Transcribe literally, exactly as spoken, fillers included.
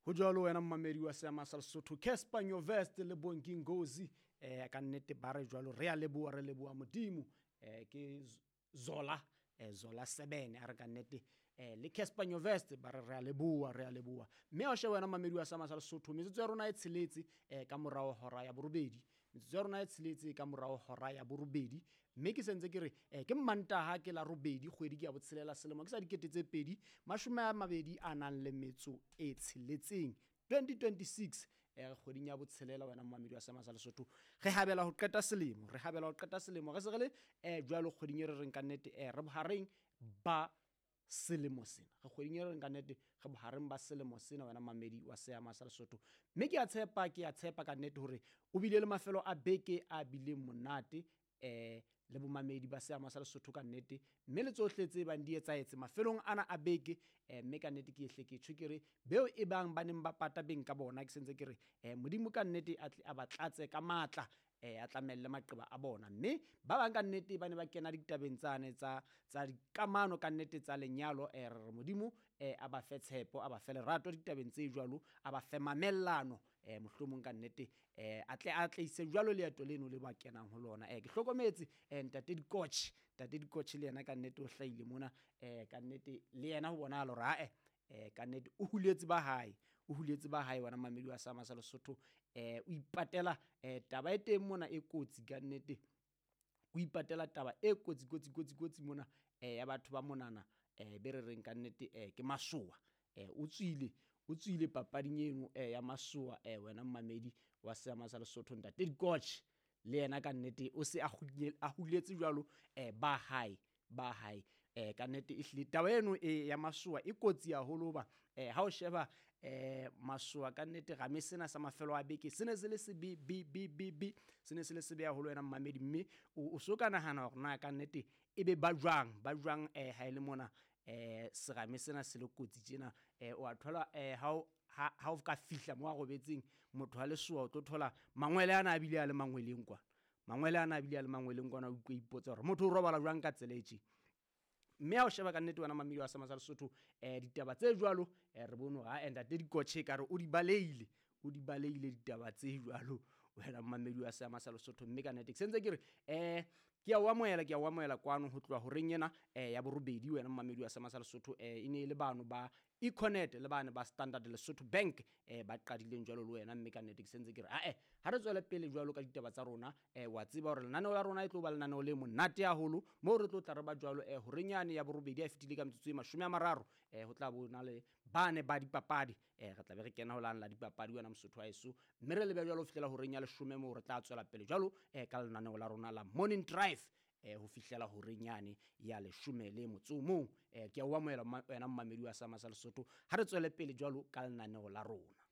Ho jwalo wena mmamedi wa seama sa Lesotho, Cassper Nyovest le Bongi Ngozi eh ka nnete ba re jwalo, re a leboha, re leboha Modimo. eh ke Zola, eh Zola seven a re ka nnete eh le Cassper Nyovest ba re re a leboha, re a leboha. Mme o shebe wena mmamedi wa seama sa Lesotho, metsotso ya rona e tsheletse eh ka morao hora ya borobedi, metsotso ya rona e tsheletse ka morao hora ya borobedi. Mme ke sentse ke re eh ke Mmantaha, ke la robedi, kgwedi ke ya botshelela, selemo ke sa dikete tse pedi mashome a mabedi a nang le metso e tsheletseng, twenty twenty-six. Eh kgweding ya botshelela wena mmamedi wa seama sa Lesotho, re habela ho qeta selemo, re habela ho qeta selemo, re se re le eh jwalo kgweding e re reng ka nnete eh re bohareng ba selemo sena, re kgweding e re reng ka nnete re bohareng ba selemo sena wena mmamedi wa seama sa Lesotho. Mme ke a tshepa, ke a tshepa ka nnete hore o bile le mafelo a beke a bileng monate eh le bomamedi ba seama sa Lesotho ka nnete, mme le tsohle tse bang di etsahetse mafelong ana a beke. eh mme ka nnete ke ehle ke tjho ke re beo e bang ba neng ba pata beng ka bona, ke sentse ke re eh Modimo ka nnete a tle a ba tlatse ka matla, eh a tlamelle maqeba a bona. Mme ba bang ka nnete ba ne ba kena ditabeng tsane tsa tsa dikamano ka nnete tsa lenyalo, eh re re Modimo eh a ba fe tshepo, a ba fe lerato ditabeng tse jwalo, a ba fe mamellano, eh mohlomong ka nnete eh a tle a tleise jwalo leeto leno le ba kenang ho lona. Eh ke hlokometse eh ntate Dikotjhe, ntate Dikotjhe le yena ka nnete o hlahile mona, eh ka nnete le yena ho bonahala hore ae eh ka nnete o huletse ba hae, o huletse ba hae wena mmamedi wa seama sa Lesotho. Eh o ipatela eh taba e teng mona e kotsi ka nnete, o ipatela taba e kotsi kotsi kotsi kotsi mona eh ya batho ba monana eh be re reng ka nnete eh ke masoa. Eh o tswile, o tswile papading eno eh ya masoa eh wena mmamedi wa seama sa Lesotho. Ntate Dikotjhe le yena ka nnete o se a huletse jwalo eh ba hae, ba hae. Eh ka nnete ehlile taba eno e ya masoa e kotsi haholo hoba eh ha o sheba eh masoa ka nnete rame sena sa mafelo a beke se ne se le sebe b b b b se ne se le sebe haholo wena mmamedi. Mme o so ka nahana hore na ka nnete e be ba jwang, ba jwang eh ha ile mona eh serame sena se le kotsi tjena. Eh o a thola eh ha o ha o ka fihla mo a robetseng motho a lesoa, o tlo thola mangwele ana a bile a le mangweleng kwana, mangwele ana a bile a le mangweleng kwana, o utlwe ipotsa hore motho o robala jwang ka tsela e tje. Mme ha o sheba ka nnete wena mmamedi wa seama sa Lesotho eh ditaba tse jwalo eh re bone hore ha ntate Dikotjhe ka re o di baleile, o di baleile ditaba tse jwalo wena mmamedi wa seama sa Lesotho. Mme ka nnete ke sentse ke re eh ke a o amohela, ke a o amohela kwano ho tloha horeng ena eh ya borobedi wena mmamedi wa seama sa Lesotho. Eh e ne e le bano ba Econet le bane ba Standard Lesotho Bank eh ba qadileng jwalo le wena. Mme ka nnete ke sentse ke re ae ha re tswele pele jwalo ka ditaba tsa rona. Eh wa tseba hore lenaneo la rona e tlo ba lenaneo le monate haholo moo re tlo tla re ba jwalo eh horeng yane ya borobedi a fetile ka metsotso e mashome a mararo eh ho tla bona le bane ba dipapadi eh re tla be re kena ho lana la dipapadi wena Mosotho wa heso, mme re lebe jwalo ho fihlela horeng ya leshome moo re tla tswela pele jwalo eh ka lenaneo la rona la Morning Drive eh ho fihlela horeng yane ya leshome le motso o mong. Eh ke a o amohela wena mmamedi wa seama sa Lesotho, ha re tswele pele jwalo ka lenaneo la rona.